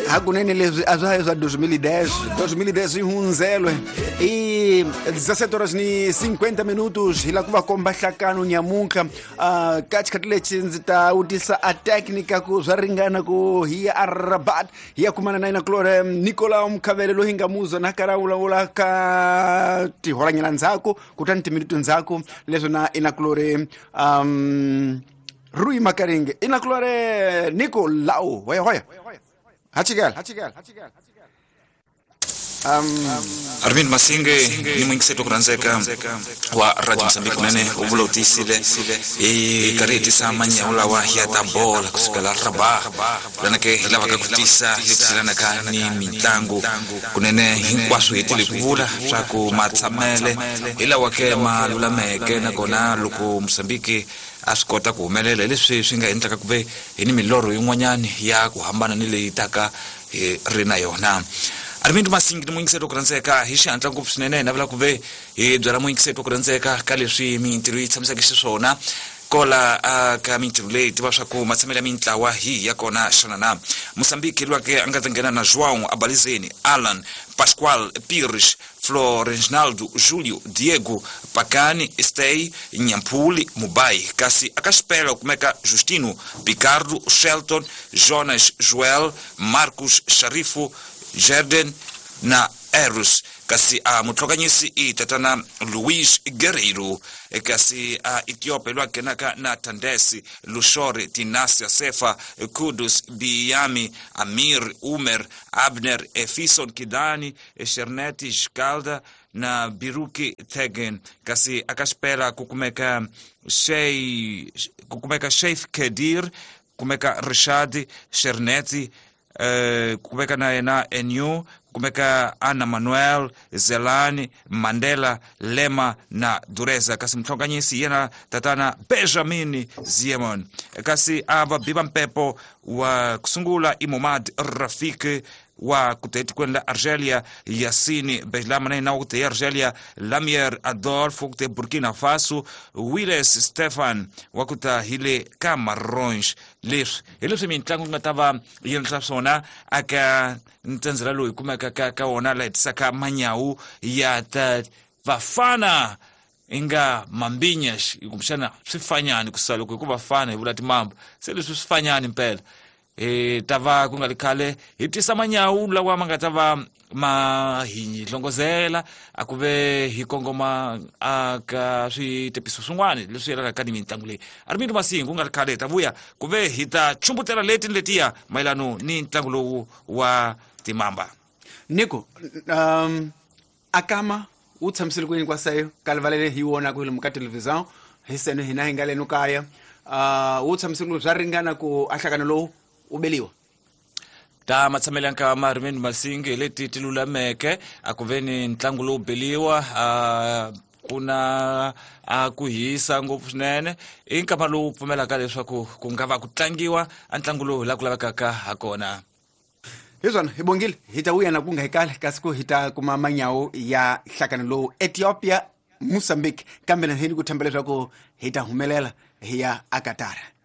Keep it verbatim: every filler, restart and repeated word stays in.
Hakunene leswi a swa ha swa dois mil e dez, dois mil e dez yi hundzele i dezessete horas ni cinquenta minutos hi la ku va komba nhlakano nyamuntlha. uh, ka xikhathi lexi ndzi ta vutisa a técnica ku swa ringana ku hi ya a Rabat hi ya kumana na yena Claude Nicolau Mkhavele loyi hi nga muzwa na karhi a vulavula ka tihoranyana ndzhaku kutani timinute ndzhaku leswi na ina Claude um Rui Makaringe ina Claude Nicolau hoya hoya hachigala hachigala um Armin Masinge ni mwingiseto kuranzeka wa Radio Mozambique kunene u vula u tiyisile hi karhi hi tisa manyawu lawa ya ta bola kusukela Rabat lana ke hi lavaka ku tisa leswi yelanaka ni mitlangu kunene hinkwaswo hi tile ku vula swa ku matshamele hi lawa ke ma lulameke nakona loko Mozambique a swi kota ku humelela hi leswi swi nga endlaka ku ve hi ni milorho yin'wanyani ya ku hambana ni leyi taka hi ri na yona. Armindo Masingi ni muyingiseri ku rhandzeka hi xihatla ngopfu swinene hi navela ku ve hi byela muyingiseri ku rhandzeka ka leswi mintirho yi tshamiseke xiswona kola uh, ka mintirho leyi tiva swa ku matshamelo ya mintlawa hi ya kona xana na Mozambique lwake a nga ta nghena na João Abalizeni, Alan Pascoal Pires, Florencinaldo Julio, Diego Pacani, Stey Nyampuli Mubai, kasi aka xipela ku kumeka Justino Picardo, Shelton, Jonas Joel, Marcos Sharifu, Jerden na Eros, kasi a mutlhokanyisi i tatana Luis Guerreiro, kasi a Ethiopia lwa nghenaka na Tandesi Lushori, Tinasia Sefa, Kudus Biyami, Amir Umer, Abner Efison Kidani, Sherneti Jkalda na Biruki Tegen, kasi aka xipela ku kumeka Shei ku kumeka Sheikh Kedir, kumeka Rishad Sherneti, Uh, kumeka na yena Enu, kumeka Ana Manuel, Zelani, Mandela, Lema na Dureza, kasi mtlhonganyisi yena tatana Benjamin Ziemon, kasi ava biba mpepo wa kusungula Imomad Rafik wa kuta etikweni la Argelia, Yassine Bejlama na yena wa kuta Argelia, Lamier Adolf wa kuta Burkina Faso, Willes Stefan wa kuta hile Camarões. Leswi hi leswi mitlangu yi nga ta va yi endla swona aka ntsendzela lowu hi kumeka ka ka wona laha hi tisaka manyawu ya ta vafana inga mambinyash kumbexana swifanyani kusuka loko hi ku vafana hi vula timamba se leswi swifanyani mpela e ta va ku nga ri khale hi tisa manyawu lawa ma nga ta va ma hi hlongozela a ku ve hi kongoma a ka switepiso swin'wana leswi yelanaka ni mitlangu leyi. Armindo Masingi ku nga ri khale hi ta vuya ku ve hi ta chumbutela leti ni letiya mayelano ni ntlangu lowu wa timamba. Nico, um, akama wu tshamisile ku yini kwaseyo ka rivalele hi wona ku lomu ka television hi seno hina hi nga leno kaya uh, wu tshamisile ku swa ringana ku a nhlakano lowu u beliwa ta matshamelo ya nkama Armindo Masingi hi leti ti lulameke a ku ve ni ntlangu lowu beliwa uh, ku na a ku hisa ngopfu swinene i nkama lowu pfumelaka leswaku ku nga va ku tlangiwa a ntlangu lowu hi laha ku lavekaka ha kona. Hi swona hi bongile hi ta vuya na ku nga hi kale kasi ku hi ta kuma manyawu ya nhlakano lowu Ethiopia Mozambique, kambe na hini ku themba leswaku hi ta humelela hi ya a Qatar.